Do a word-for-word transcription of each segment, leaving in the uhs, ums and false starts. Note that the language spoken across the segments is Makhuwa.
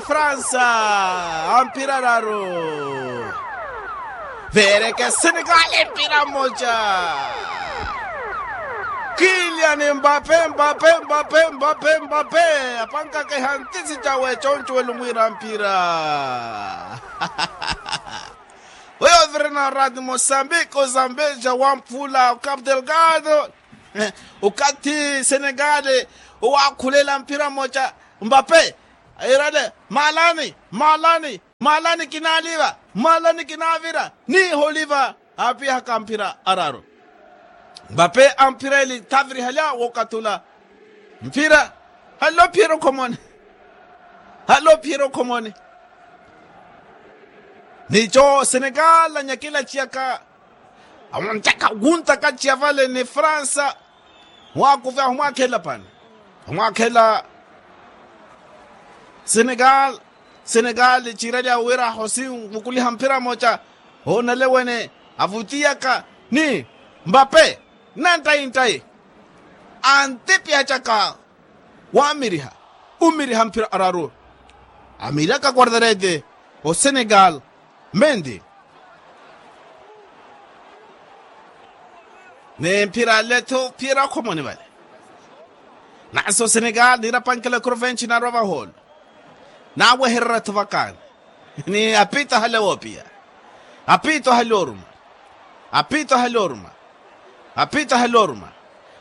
Fransa, a mpira araru. Veereke senegali mpira mmoja. Kiliani mbape mbape mbape mbape mbape. Apankakeha ntisi cawe concuwelo mwiira mpira. Weyo ovirena orati mosambiki ozambeja wamphula okapu delgado. Okathi senegali owakhulela mpira mmoja. Mbape airale maalani maalani maalani kinaaliva maalani kinaavira. Niiho oliva aapihaka mphira araru. Mbape amphira eli thavirihalya wookathula. Mphira halophiyerya okhomoni. Halophiyerya okhomoni. Nico senegali anyakela ciyaka. Awontaka wuntaka ciya vale ni fransa. Mwakuvya humwakhela pani? Humwakhela senegali. Senegali ciiralya wira hosi nvukuliha mphira mmoja. Hoonale wene avutiyaka ni mbape. Nantayi ntayi antipihacaka. Wamiriha umiriha mphira araru. Amiryaka quartarete osenegal. Mendi ni mphira ale-tho phiyera okhomoni vale. Nansi osenegal niirapankela ekhuruvenci naarwa vaholo. Naawehererya-tho vakani. Ni apito ahale woopiya. Apito ahale oruma. Apito ahale oruma. Apito ahale oruma.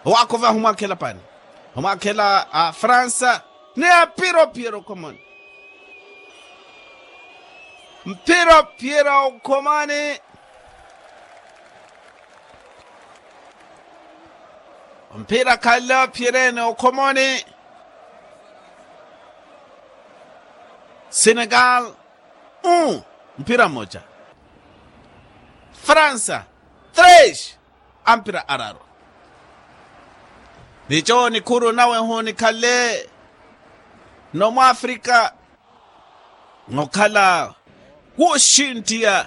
Owaakhovya humwakhela pani? Humwakhela afransa. Ni aphiro phiyera okhomani. Mphiro phiyera okhomani. Mphira khalle ophiyereene okhomoni. Senegal un mphira mmoja. Fransa tres amphira araru. Nico nikhuru nawe honikhalle. Nomwaafrika nokhala wuxintiya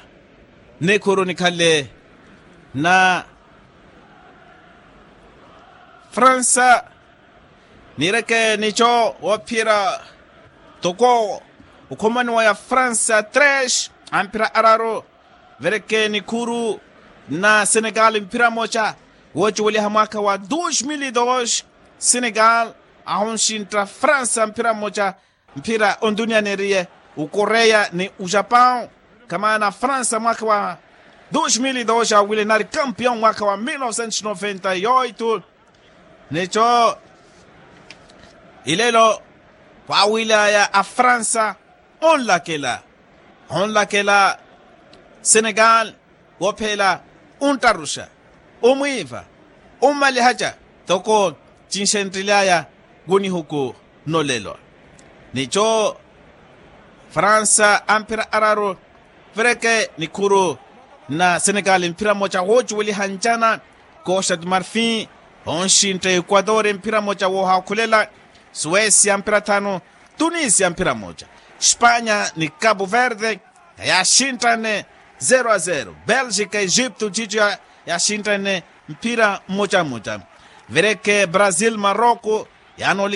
nikhuru nikhale na fransa. Nireke nico wophiyerya toko okhomaniwa ya fransa tres amphira araru. Vereke nikhuru na senegal mphira moca. Wocuweliha mwaka wa dos mil e dos senegal ahonxintta fransa mphira moca. Mphira ondunia neeriye okoreya ni ojapão. Kamaana fransa mwaka wa dos mil e dos awile nari campeão mwaka wa mil novecentos noventa e oito. Neco ilelo wawilaya afransa onlakela onlakela senegal. Woophela onttaruxa omwiiva ommalihaca toko cinxenttelaya. Kunihuku nolelo nico fransa amphira araru. Vereke nikhuru na senegal mphira mmoca woocuweliha ncana. Costa de marfin onxintta ekuator mphira mmoca woohaakhulela. Suecia mphira thanu. Tunisia mphira mmoca. Spanya ni capo verde yaaxinttanne zero a zero. Belgica egipto cico yaaxinttanne mphira mmoca mmoca. Vereke brazil maroko yaanoli